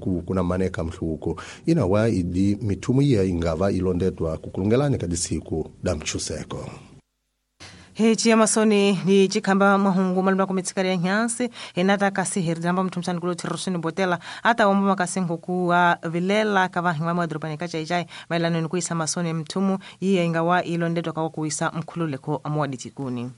Ku kuna maneka mhluko inawa idi mithumu iya ingava ilondedwa kukulungelani ka disiku da mchuseko. Hechi amasoni ni chikhamba mahungu malumba kumitsikari ya nyansi hinata kasi heridamba mthumsani kulo thirosini botela ata omba makasi nkukuwa vilela kavahi wa madrupani kachaichai maelano ni kuisa masoni mthumu iye ingawa ilondedwa kawa kuisa mkhululeko amuwaditikuni.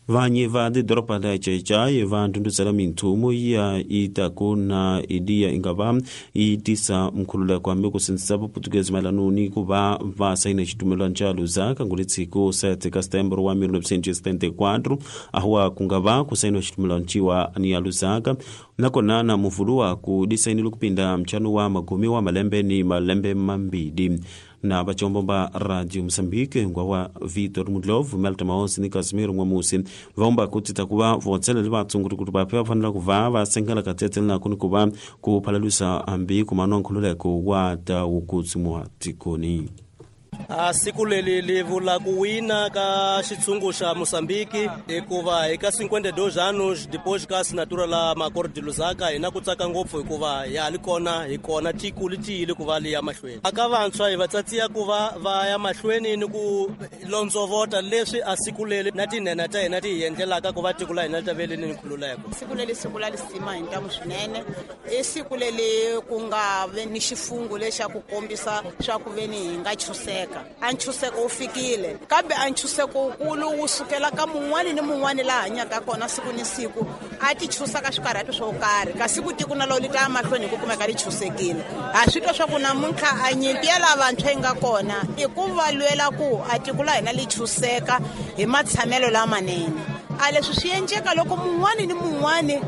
Vanyi va tidoroba la Chaichai va ndhundhuzela minthumu ya itaku na idiya ingava yi tisa mkhululeko hambi ku sindzisa vaputukezi mayelano ni ku va va sayina xitumelwano xa Lusaka nguletshiku 7 ka Setembro wa 1974 ahuwa ku nga va ku sayiniwa xitumelwano ciwa ni ya Lusaka nakona na muvulu ku disayinile kupinda mchano wa magumi wa malembe ni malembe mambili na vacombo va Radio Mozambique ngwa wa Vitor Mudlov Melta Maosi ni Casimiro N'wamusi vaomba ku tita ku va votselela vatsunguri kuti vape va fanela ku va va sengela katsetsele nako ni ku va ku phalalusa hambi ku manwa nkhululeko wa ta wukutsimiwa tikoni. Siku leri li vula ku wina ka xitshungu xa Mozambique hikuva eka 52 anos depois ka assinatura la Acordo de Lusaka hi na ku tsaka ngopfu hikuva ya ha li kona hi kona tiko li tiyile ku va li ya mahlweni. Aka vantshwa hi va tsatsiya ku va va ya mahlweni ni ku londzovota leswi a siku leri na tinhena ta hina ti hi endlelaka ku va tiko la hina li ta ve li ni nkhululeko. Siku leri siku la lisima hi ntamu swinene i siku leri ku nga ve ni xifungu lexa ku kombisa swa ku ve ni hi nga chuseka. A nchuseko wu fikile kambe a nchuseko wukulu wu sukela ka mun'wani ni mun'wani laha hanyaka kona siku ni siku a ti chusaka swikarhati swo karhi kasi ku tiko na lowu li ta ya mahlweni hi ku kumeka li chusekile. Ha swi twa swa ku namuntlha a nyimpi ya lavantshwa yi nga kona i ku va lwela ku a tiko la hina li chuseka hi matshamelo lamanene. A leswi swi endleka loko mun'wani ni mun'wani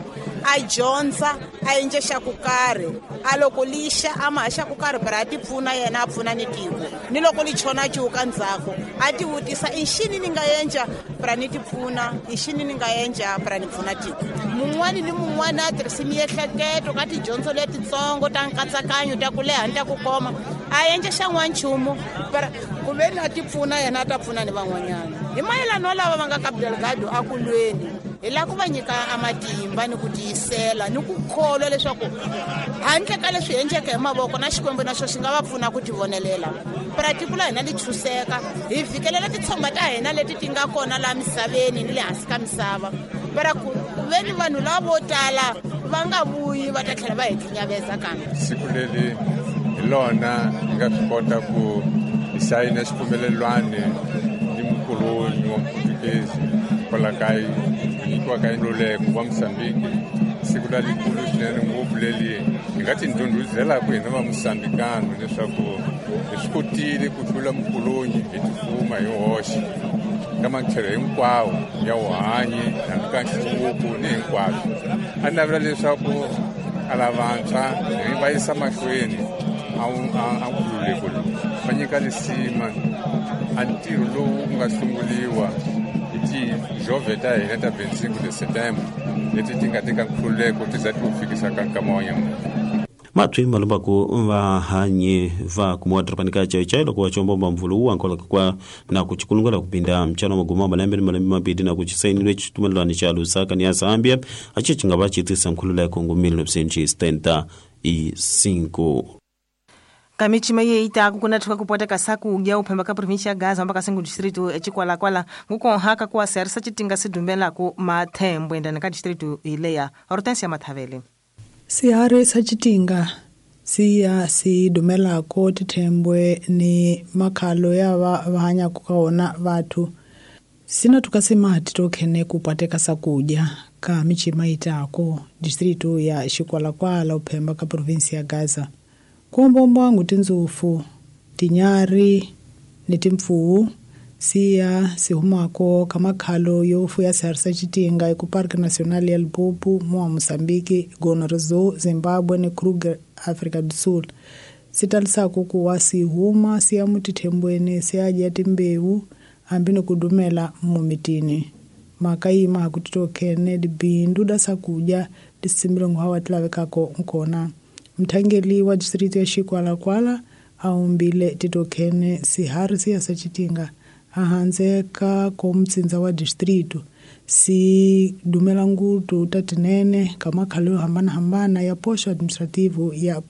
a dyondza a endle xa ku karhi a loko lixa a ma xa ku karhi para a ti pfuna yena a pfuna ni tiko ni loko li chona cuka ndzhaku a ti vutisa i xini ni nga endla para ni ti pfuna i xini ni nga endla para ni pfuna tiko. Mun'wani ni mun'wani a tirhisi miehleketo ka tidyondzo letitsongo ta nkatsakanyo ta ku leha ni ta ku koma a endla xa n'wanchumu para ku ve ni a ti pfuna yena a ta pfuna ni van'wanyana. Hi mayelano lava va nga ka Delgado a ku lweni hi lava ku va nyika a matimba ni ku tiyisela ni ku kholwa leswaku handle ka leswi endleke hi mavoko na Xikwembu na xo xi nga va pfuna ku tivonelela. Para tiko la hina li chuseka hi fikelela titshomba ta hina leti ti nga kona laha misaveni ni le hansi ka misava para ku ve ni vanhu lava vo tala va nga vuyi va ta tlhela va hi khinyaveza kambe. Siku leri hi lona hi nga swi kota ku hi sayina xipfumelelwano ni mukoloni wa Muputukezi kwala ka nyikiwa ka nkhululeko wa Mozambique. Siku la likulu swinene ngopfu leri hi nga tindhundhuzelaka hina va Mozambikano leswaku hi swi kotile ku hlula mukoloni hi tifuma hi hoxe ka matlhelo hinkwawo ya vuhanyi hambi ka nhluvuko ni hinkwaswo. A navela leswaku a lavantshwa hi va yisa mahlweni a nkhululeko lowu va nyika lisima a ntirho lowu ku nga sunguliwa hi tijove ta hina ta 25 de Setembro leti ti nga teka nkhululeko ti za ti wu fikisa ka nkama wa nyamuntlha. Matwi malumbaku vahanyi va kumiwa dorobani ka Chaichai loko va combomba mvulu wu ankolaka kwa na ku chikulungela kupinda mchano maguma malembe ni malembe mabili na ku chisainile xitumelelwano xa Lusaka ni ya Zambia aci ci nga va ci tisa nkhululeko ngu 1975. Kamichima ye itaku kuna tuka kupota kasaku ugia uphemba ka provincia ya Gaza mpaka sengu distrito echikwalakwala ngukonhaka kuwa serisa chitinga sidumbela ku mathembwe ndani ka distrito ileya Hortensia Mathavele. Sihari sa chitinga siya si dumelako tithembwe ni makhalo ya va hanyaka ka wona vathu sina tukasema titokhene kupateka sakudya ka michima itako distrito ya Xikwalakwala uphemba ka provinsi ya Gaza. Kuombomba tindzufu tinyari ni timpfuwu siya sihumako ka makhalo yo fuya sihari sa chitinga eku Parque Nacional ya Limpopo mua Mozambique, Gonorzo, Zimbabwe ni Kruger, Afrika do Sul. Si talisako kuwa sihuma siya mutithembweni siya dya timbewu hambi ni ku dumela mumitini. Mhaka yi ma ku titokhene dibindu da sakudya lisimbile hawa ti lavekako nkona. Mthangeli wa distrito ya Xikwalakwala a humbile titokhene sihari siya sa chitinga ahandze ka komtsindza wa distrito si dumela ngutu ta tinene ka makhalo yo hambanahambana ya poxo administrativo ya